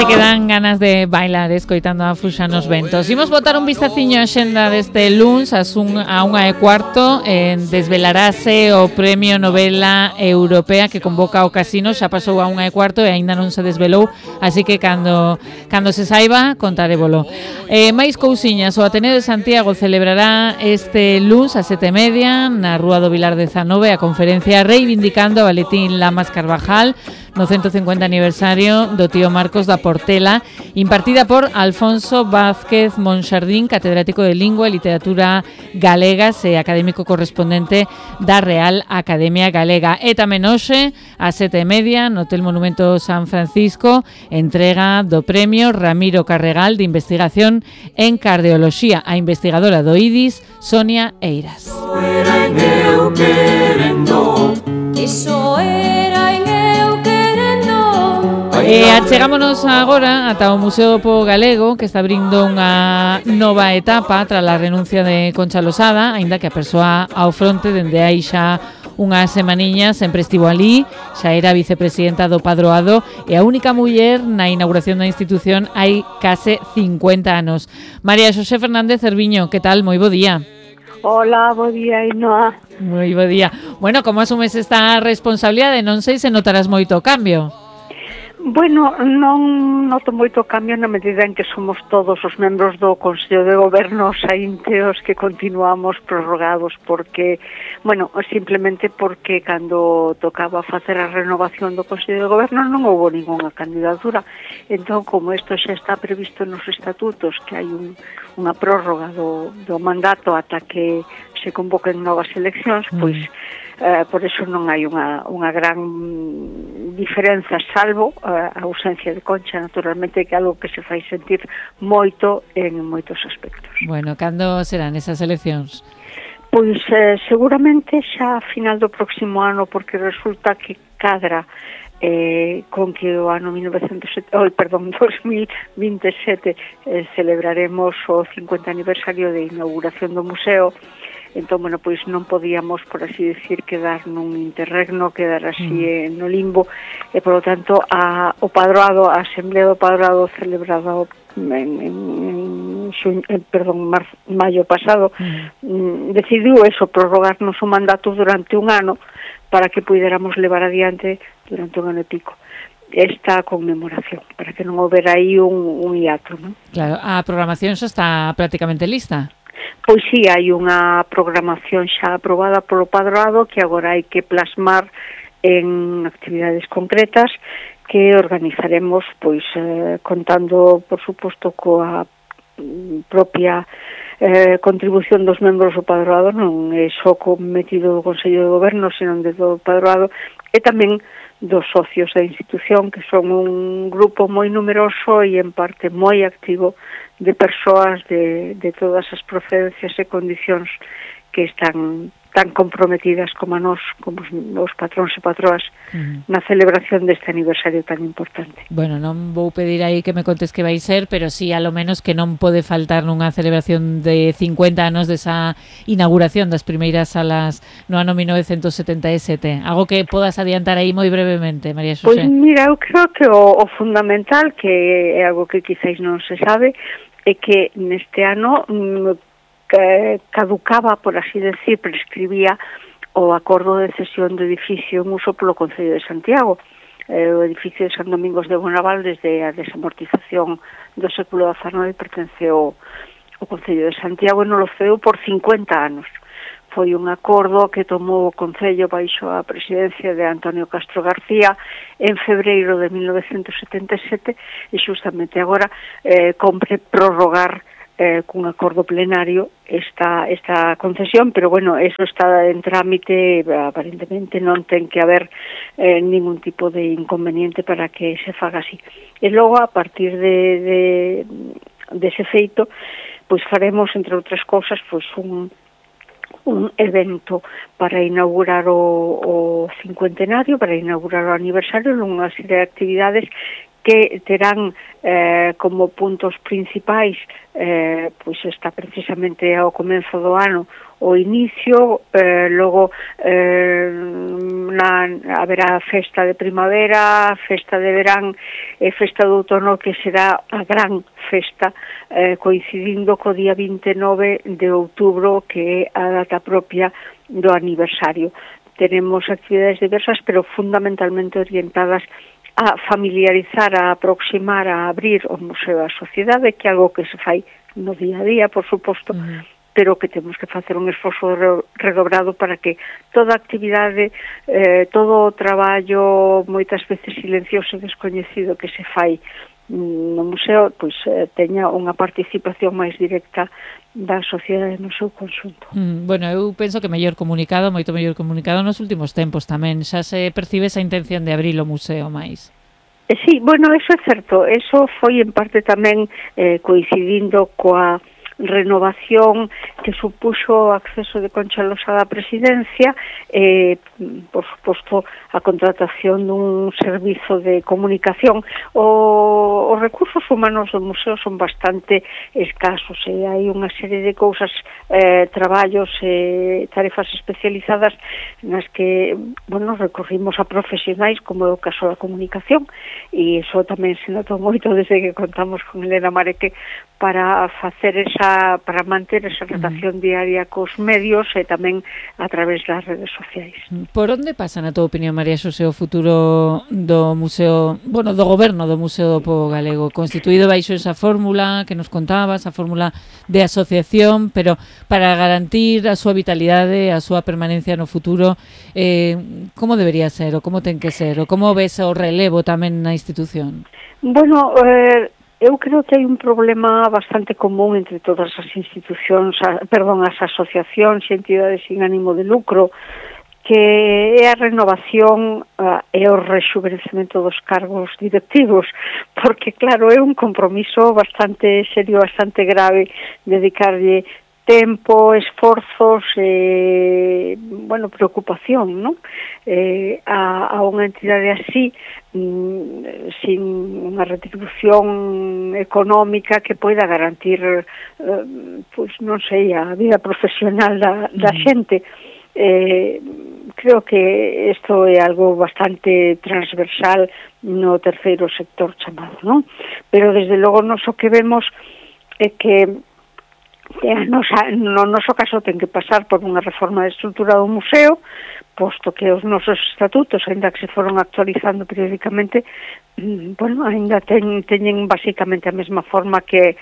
que dan ganas de bailar escoitando a Fuxa nos ventos. Imos botar un vistaciño a xenda deste luns a 1:15. Desvelarase o Premio Novela Europea que convoca o Casino. Xa pasou a 1:15 e aínda non se desvelou, así que cando se saiba contarébolo. Máis cousiñas, o Ateneo de Santiago celebrará este luns a 7:30 na Rúa do Vilar 19 a conferencia reivindicando a Valentín Lamas Carvajal no 150 aniversario do tío Marcos da Portela, impartida por Alfonso Vázquez Monxardín, catedrático de Lingua e Literatura Galegas e académico correspondente da Real Academia Galega. E tamén hoxe, a 7:30, no Hotel Monumento San Francisco, entrega do premio Ramiro Carregal de Investigación en Cardioloxía a investigadora do IDIS, Sonia Eiras. Achegámonos agora ata o Museo do Pobo Galego, que está abrindo unha nova etapa tras a renuncia de Concha Losada, aínda que a persoa ao fronte dende hai xa unhas semaniñas sempre estivo ali, xa era vicepresidenta do Padroado e a única muller na inauguración da institución hai case 50 anos. María Xosé Fernández Cerviño, que tal? Moi bo día. Hola, bo día, Inoa. Moi bo día. Bueno, como asumes esta responsabilidade? Non sei se notarás moito cambio. Bueno, non noto moito cambio na medida en que somos todos os membros do Consello de Goberno saínteos que continuamos prorrogados porque, bueno, simplemente porque cando tocaba facer a renovación do Consello de Goberno non houve ningunha candidatura. Entón, como isto xa está previsto nos estatutos, que hai unha prórroga do mandato ata que se convoquen novas eleccións, pois por eso non hai unha gran diferenza, salvo a ausencia de Concha, naturalmente, que é algo que se fai sentir moito en moitos aspectos. Bueno, cando serán esas eleccións? Pois seguramente xa a final do próximo ano, porque resulta que cadra con que o ano 2027 celebraremos o 50 aniversario de inauguración do museo. Entón, bueno, pois non podíamos, por así decir, quedar nun interregno, quedar así no limbo, e, por lo tanto, o Padroado, a Asamblea do Padroado celebrada maio pasado, decidiu eso, prorrogarnos o mandato durante un ano para que puidéramos levar adiante durante un ano e pico esta conmemoración, para que non houbera aí un hiato, non? Claro, a programación xa está prácticamente lista. Pois sí, hai unha programación xa aprobada polo Padroado que agora hai que plasmar en actividades concretas que organizaremos, pois contando, por suposto, coa propia contribución dos membros do Padroado, non é só cometido do Consello de Goberno, senón de todo o Padroado, e tamén dos socios da institución, que son un grupo moi numeroso e en parte moi activo de persoas de todas as procedencias e condicións que están tan comprometidas como a nós, como os patróns e patroas, na celebración deste aniversario tan importante. Bueno, non vou pedir aí que me contes que vai ser, pero sí, a lo menos que non pode faltar nunha celebración de 50 anos desa inauguración das primeiras salas no ano 1977. Algo que podas adiantar aí moi brevemente, María Xosé. Pois mira, eu creo que o fundamental, que é algo que quizáis non se sabe, é que neste ano caducaba, por así decir, prescribía o acordo de cesión do edificio en uso polo Concello de Santiago. O edificio de San Domingos de Bonaval, desde a desamortización do século XIX, pertenceu ao Concello de Santiago e non lo cedeu por 50 anos. Foi un acordo que tomou o Concello baixo a presidencia de Antonio Castro García en febreiro de 1977 e justamente agora compre prorrogar cun acordo plenario esta concesión, pero bueno, eso está en trámite, aparentemente non ten que haber ningún tipo de inconveniente para que se faga así. E logo, a partir de ese feito, pois faremos, entre outras cousas, pois un evento para inaugurar o cincuentenario, para inaugurar o aniversario, nunha serie de actividades que terán como puntos principais, pois está precisamente ao comezo do ano o inicio, logo haberá festa de primavera, festa de verán e festa de outono, que será a gran festa, coincidindo co día 29 de outubro, que é a data propia do aniversario. Tenemos actividades diversas, pero fundamentalmente orientadas a familiarizar, a aproximar, a abrir o museo á sociedade, que é algo que se fai no día a día, por suposto, pero que temos que facer un esforzo redobrado para que toda a actividade, todo o traballo, moitas veces silencioso e descoñecido, que se fai no museo, pois teña unha participación máis directa da sociedade no seu conxunto. Bueno, eu penso que moito mellor comunicado nos últimos tempos tamén. Xa se percibe esa intención de abrir o museo máis. Sí, bueno, eso é certo. Eso foi en parte tamén coincidindo coa renovación que supuxo o acceso de Concha Losada á presidencia, por suposto a contratación dun servizo de comunicación. Os recursos humanos do museo son bastante escasos e hai unha serie de cousas, traballos e tarefas especializadas nas que, bueno, recorrimos a profesionais, como é o caso da comunicación, e iso tamén se notou moito desde que contamos con Elena Mareque para facer para manter esa relación diaria cos medios e tamén a través das redes sociais. Por onde pasa, na tua opinión, María Xosé, o futuro do museo, do goberno do Museo do Pobo Galego, constituído baixo esa fórmula que nos contabas, a fórmula de asociación, pero para garantir a súa vitalidade, a súa permanencia no futuro, como debería ser, ou como ten que ser, ou como ves o relevo tamén na institución? Bueno, eu creo que hai un problema bastante común entre todas as institucións, as asociacións e entidades sin ánimo de lucro, que é a renovación e o rexuvenecemento dos cargos directivos, porque claro, é un compromiso bastante serio, bastante grave, dedicarlle tempo, esforzos e, preocupación, non? A unha entidade así, sin unha retribución económica que poida garantir, non sei, a vida profesional da xente. Creo que isto é algo bastante transversal no terceiro sector chamado, non? Pero desde logo nos o que vemos é que no noso caso ten que pasar por unha reforma de estrutura do museo, posto que os nosos estatutos, ainda que se foron actualizando periódicamente, ainda teñen basicamente a mesma forma que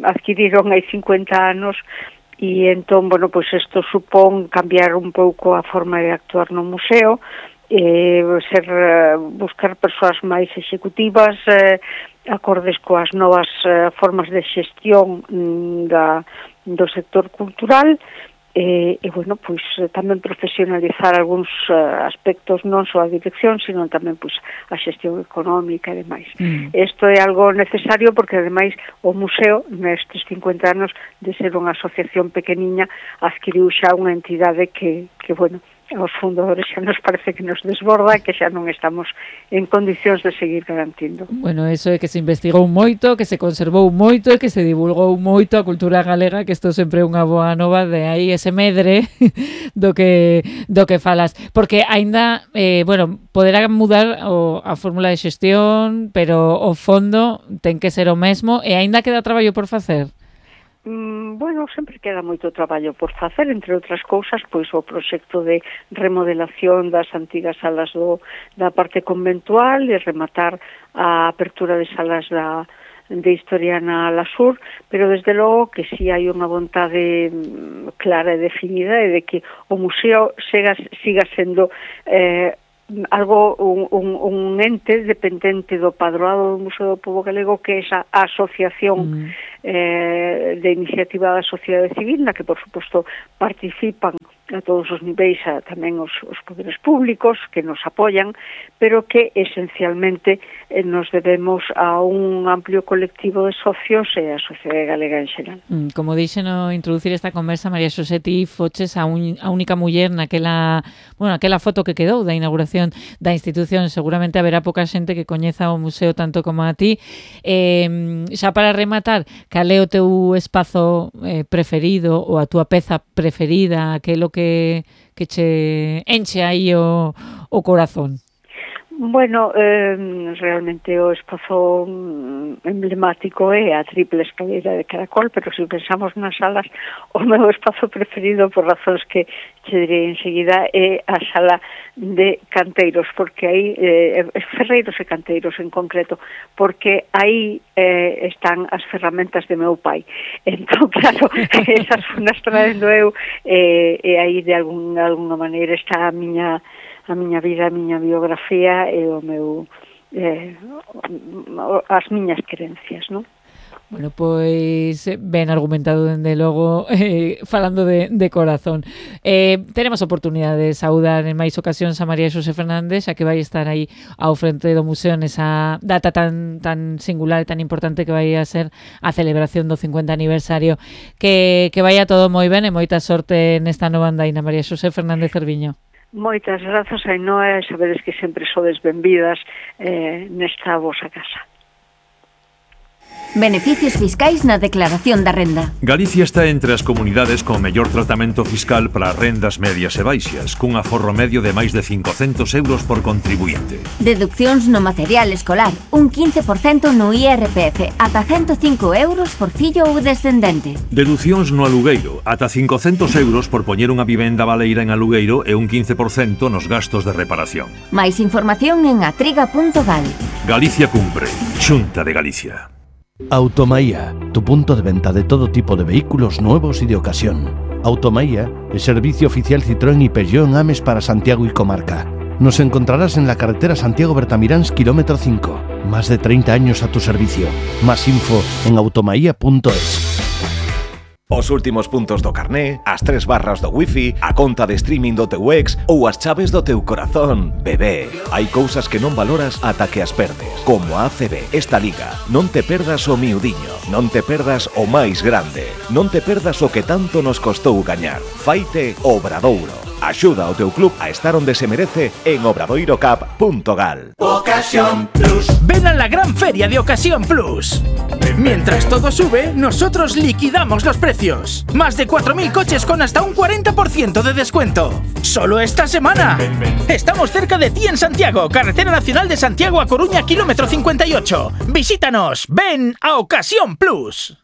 adquiriron hai 50 anos, e entón, isto supón cambiar un pouco a forma de actuar no museo, buscar persoas máis executivas, acordes coas novas formas de xestión do sector cultural, tamén profesionalizar algúns aspectos, non só a dirección, sino tamén a xestión económica e demais. Isto é algo necesario porque, ademais, o museo, nestes 50 anos de ser unha asociación pequeniña, adquiriu xa unha entidade que aos fundadores xa nos parece que nos desborda e que xa non estamos en condicións de seguir garantindo. Bueno, eso é que se investigou moito, que se conservou moito e que se divulgou moito a cultura galega, que isto sempre é unha boa nova, de aí ese medre do que falas. Porque aínda, poderá mudar a fórmula de xestión, pero o fondo ten que ser o mesmo e aínda queda traballo por facer. Sempre queda moito traballo por facer, entre outras cousas, o proxecto de remodelación das antigas salas da parte conventual e rematar a apertura de salas de Historia na Alasur, pero desde logo que si hai unha vontade clara e definida e de que o museo siga sendo un ente dependente do padroado do Museo do Pobo Galego, que é esa asociación de iniciativa da sociedade civil, na que, por suposto, participan a todos os niveis, tamén os poderes públicos que nos apoian, pero que esencialmente nos debemos a un amplio colectivo de socios e a sociedade galega en xeral. Como dixe no introducir esta conversa, María Xosé, ti foches a única muller naquela foto que quedou da inauguración da institución. Seguramente haberá pouca xente que coñeza o museo tanto como a ti. Xa para rematar, cal é o teu espazo preferido ou a túa peza preferida, aquilo que che enche aí o corazón? Bueno, realmente o espazo emblemático é a triple escaleira de Caracol, pero se pensamos nas salas, o meu espazo preferido, por razóns que che direi enseguida, é a sala de canteiros, porque aí, ferreiros e canteiros en concreto, porque aí están as ferramentas de meu pai. Entón, claro, esas son as traendo eu, e aí de alguna maneira está a miña vida, a miña biografía e o meu as miñas creencias, non? Bueno, pois ben argumentado dende logo, falando de corazón. Teremos oportunidade de saudar en máis ocasións a María Xosé Fernández, xa que vai estar aí ao frente do museo nesa data tan singular e tan importante que vai a ser a celebración do 50 aniversario. Que vaya todo moi ben e moita sorte nesta nova andaina, María Xosé Fernández Cerviño. Moitas grazas, Ainhoa, e sabedes que sempre sodes benvidas nesta vosa casa. Beneficios fiscais na declaración da renda. Galicia está entre as comunidades con mellor tratamento fiscal para rendas medias e baixas, cun aforro medio de máis de 500 euros por contribuinte. Deduccións no material escolar, un 15% no IRPF, ata 105 euros por fillo ou descendente. Deducións no alugueiro, ata 500 euros por poñer unha vivenda baleira en alugueiro e un 15% nos gastos de reparación. Máis información en atriga.gal. Galicia cumpre. Xunta de Galicia. Automaía, tu punto de venta de todo tipo de vehículos nuevos y de ocasión. Automaía, el servicio oficial Citroën y Peugeot en Ames para Santiago y comarca. Nos encontrarás en la carretera Santiago-Bertamiráns, kilómetro 5. Más de 30 años a tu servicio. Más info en automaía.es. Os últimos puntos do carné, as 3 barras do wifi, a conta de streaming do teu ex ou as chaves do teu corazón, bebé. Hai cousas que non valoras ata que as perdes. Como a ACB, esta liga. Non te perdas o miudiño, non te perdas o máis grande, non te perdas o que tanto nos costou gañar. Faite Obradouro. Axuda ao teu club a estar onde se merece en obradoirocap.gal. Ocasión Plus. Ven a la gran feria de Ocasión Plus. Mientras todo sube, nosotros liquidamos los precios. Más de 4.000 coches con hasta un 40% de descuento. ¡Solo esta semana! Estamos cerca de ti en Santiago, Carretera Nacional de Santiago a Coruña, kilómetro 58. Visítanos. Ven a Ocasión Plus.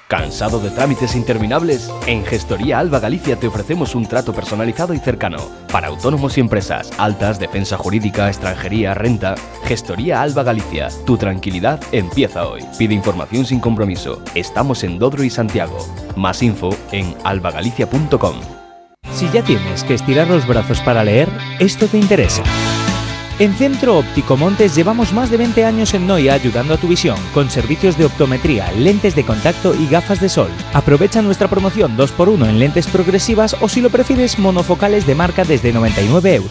¿Cansado de trámites interminables? En Gestoría Alba Galicia te ofrecemos un trato personalizado y cercano. Para autónomos y empresas, altas, defensa jurídica, extranjería, renta. Gestoría Alba Galicia. Tu tranquilidad empieza hoy. Pide información sin compromiso. Estamos en Dodro y Santiago. Más info en albagalicia.com. Si ya tienes que estirar los brazos para leer, esto te interesa. En Centro Óptico Montes llevamos más de 20 años en Noia ayudando a tu visión, con servicios de optometría, lentes de contacto y gafas de sol. Aprovecha nuestra promoción 2x1 en lentes progresivas o, si lo prefieres, monofocales de marca desde 99 euros.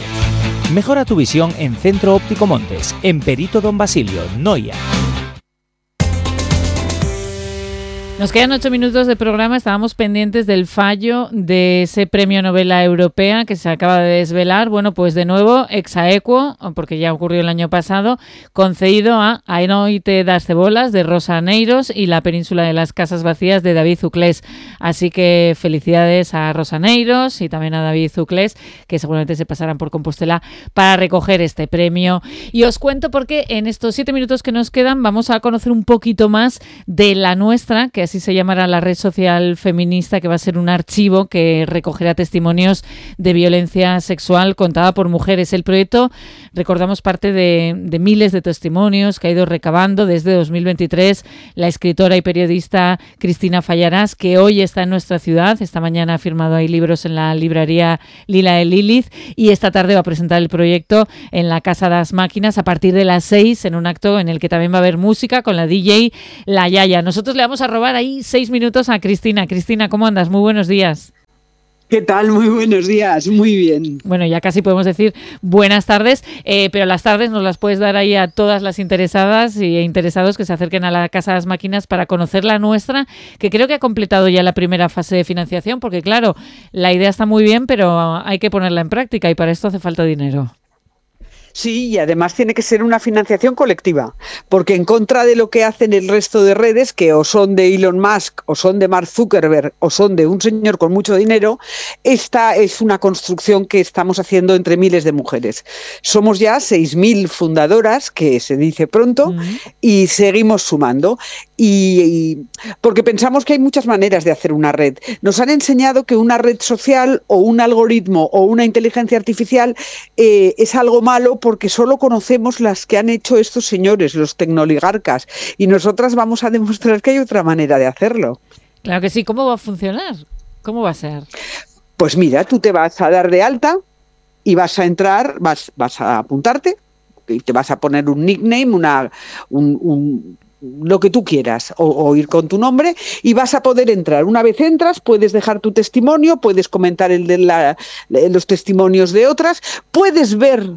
Mejora tu visión en Centro Óptico Montes, en Perito Don Basilio, Noia. Nos quedan 8 minutos de programa. Estábamos pendientes del fallo de ese premio Novela Europea que se acaba de desvelar. Bueno, pues de nuevo, ex aequo, porque ya ocurrió el año pasado, concedido a A noite das cebolas de Rosa Neiros y La península de las casas vacías de David Zuclés. Así que felicidades a Rosa Neiros y también a David Zuclés, que seguramente se pasarán por Compostela para recoger este premio. Y os cuento porque en estos 7 minutos que nos quedan vamos a conocer un poquito más de La Nuestra, que así se llamará la red social feminista, que va a ser un archivo que recogerá testimonios de violencia sexual contada por mujeres. El proyecto, recordamos, parte de miles de testimonios que ha ido recabando desde 2023 la escritora y periodista Cristina Fallarás, que hoy está en nuestra ciudad. Esta mañana ha firmado ahí libros en la librería Lila de Lilith y esta tarde va a presentar el proyecto en la Casa das Máquinas a partir de las 6 en un acto en el que también va a haber música con la DJ La Yaya. Nosotros le vamos a robar ahí 6 minutos a Cristina. Cristina, ¿cómo andas? Muy buenos días. ¿Qué tal? Muy buenos días, muy bien. Bueno, ya casi podemos decir buenas tardes, pero las tardes nos las puedes dar ahí a todas las interesadas e interesados que se acerquen a la Casa de las Máquinas para conocer La Nuestra, que creo que ha completado ya la primera fase de financiación, porque claro, la idea está muy bien, pero hay que ponerla en práctica y para esto hace falta dinero. Sí, y además tiene que ser una financiación colectiva, porque en contra de lo que hacen el resto de redes, que o son de Elon Musk, o son de Mark Zuckerberg, o son de un señor con mucho dinero, esta es una construcción que estamos haciendo entre miles de mujeres. Somos ya 6.000 fundadoras, que se dice pronto, y seguimos sumando. Y porque pensamos que hay muchas maneras de hacer una red. Nos han enseñado que una red social o un algoritmo o una inteligencia artificial es algo malo porque solo conocemos las que han hecho estos señores, los tecnoligarcas, y nosotras vamos a demostrar que hay otra manera de hacerlo. Claro que sí. ¿Cómo va a funcionar? ¿Cómo va a ser? Pues mira, tú te vas a dar de alta y vas a entrar, vas a apuntarte y te vas a poner un nickname, lo que tú quieras, o ir con tu nombre, y vas a poder entrar. Una vez entras, puedes dejar tu testimonio, puedes comentar los testimonios de otras, puedes ver,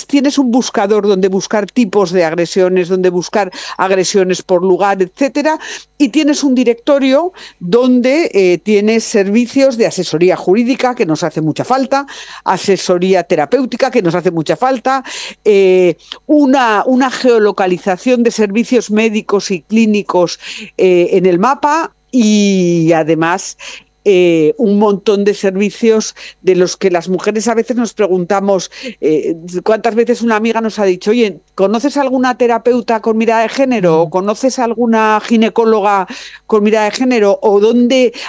tienes un buscador donde buscar tipos de agresiones, donde buscar agresiones por lugar, etcétera, y tienes un directorio donde tienes servicios de asesoría jurídica, que nos hace mucha falta, asesoría terapéutica, que nos hace mucha falta, una geolocalización de servicios médicos y clínicos en el mapa, y además un montón de servicios de los que las mujeres a veces nos preguntamos. ¿Cuántas veces una amiga nos ha dicho, oye, ¿conoces alguna terapeuta con mirada de género? ¿O conoces alguna ginecóloga con mirada de género? ¿O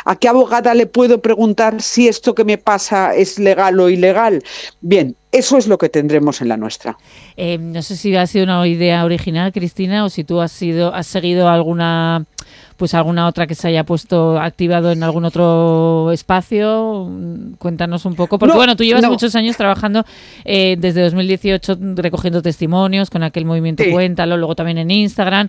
a qué abogada le puedo preguntar si esto que me pasa es legal o ilegal? Bien, eso es lo que tendremos en la nuestra. No sé si ha sido una idea original, Cristina, o si tú has seguido alguna otra que se haya activado en algún otro espacio. Cuéntanos un poco, porque tú llevas muchos años trabajando desde 2018 recogiendo testimonios con aquel movimiento Cuéntalo, luego también en Instagram.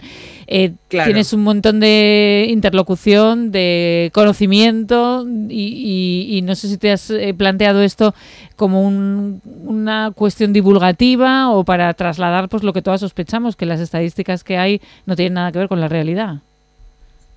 Claro. Tienes un montón de interlocución, de conocimiento y no sé si te has planteado esto como una cuestión divulgativa o para trasladar lo que todas sospechamos, que las estadísticas que hay no tienen nada que ver con la realidad.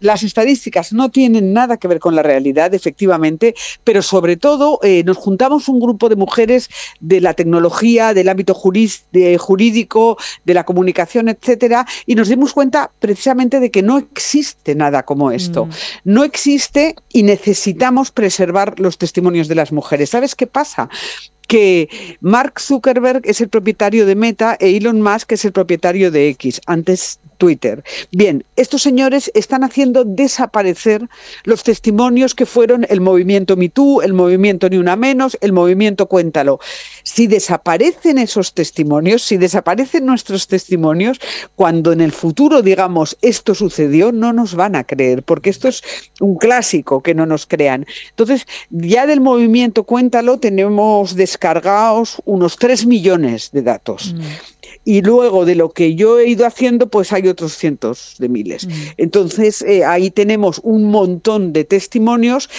Las estadísticas no tienen nada que ver con la realidad, efectivamente, pero sobre todo nos juntamos un grupo de mujeres de la tecnología, del ámbito jurídico, de la comunicación, etcétera, y nos dimos cuenta precisamente de que no existe nada como esto. No existe y necesitamos preservar los testimonios de las mujeres. ¿Sabes qué pasa? Que Mark Zuckerberg es el propietario de Meta e Elon Musk es el propietario de X, antes Twitter. Bien, estos señores están haciendo desaparecer los testimonios que fueron el movimiento Me Too, el movimiento Ni Una Menos, el movimiento Cuéntalo. Si desaparecen esos testimonios, si desaparecen nuestros testimonios, cuando en el futuro digamos esto sucedió, no nos van a creer, porque esto es un clásico, que no nos crean. Entonces, ya del movimiento Cuéntalo tenemos descargados unos 3 millones de datos. Y luego de lo que yo he ido haciendo, pues hay otros cientos de miles. Entonces, ahí tenemos un montón de testimonios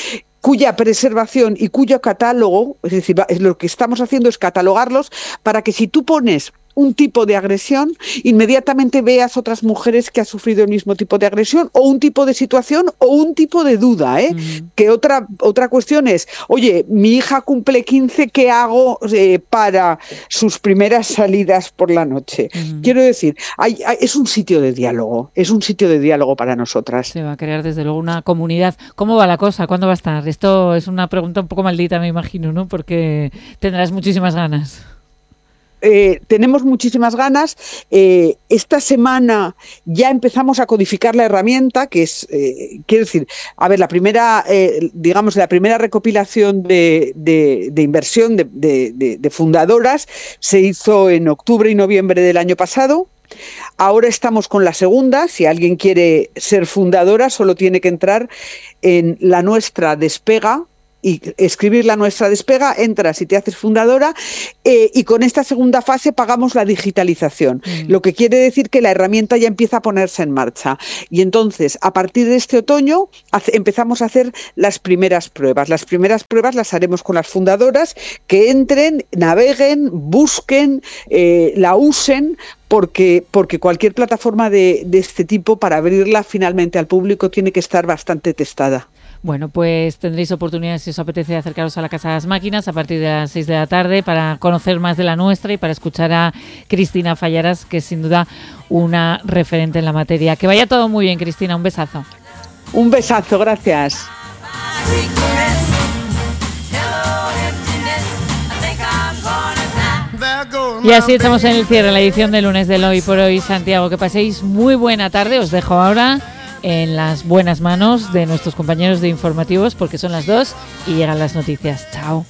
cuya preservación y cuyo catálogo, es decir, lo que estamos haciendo es catalogarlos para que si tú pones un tipo de agresión, inmediatamente veas otras mujeres que han sufrido el mismo tipo de agresión o un tipo de situación o un tipo de duda, Que otra cuestión es, oye, mi hija cumple 15, ¿qué hago para sus primeras salidas por la noche? Quiero decir, es un sitio de diálogo, para nosotras. Se va a crear desde luego una comunidad. ¿Cómo va la cosa? ¿Cuándo va a estar? Esto es una pregunta un poco maldita, me imagino, ¿no? Porque tendrás muchísimas ganas. Tenemos muchísimas ganas. Esta semana ya empezamos a codificar la herramienta, que es, quiero decir, la primera recopilación de inversión de fundadoras se hizo en octubre y noviembre del año pasado. Ahora estamos con la segunda. Si alguien quiere ser fundadora, solo tiene que entrar en La Nuestra Despega y escribir La Nuestra Despega, entras y te haces fundadora, y con esta segunda fase pagamos la digitalización, lo que quiere decir que la herramienta ya empieza a ponerse en marcha. Y entonces, a partir de este otoño, empezamos a hacer las primeras pruebas. Las primeras pruebas las haremos con las fundadoras, que entren, naveguen, busquen, la usen, porque cualquier plataforma de este tipo, para abrirla finalmente al público, tiene que estar bastante testada. Bueno, pues tendréis oportunidad, si os apetece, acercaros a la Casa de las Máquinas a partir de las 6 de la tarde para conocer más de la nuestra y para escuchar a Cristina Fallaras, que es sin duda una referente en la materia. Que vaya todo muy bien, Cristina. Un besazo. Un besazo, gracias. Y así estamos en el cierre, la edición de lunes del Hoy por Hoy, Santiago. Que paséis muy buena tarde. Os dejo ahora en las buenas manos de nuestros compañeros de informativos, porque son las 2 y llegan las noticias. Chao.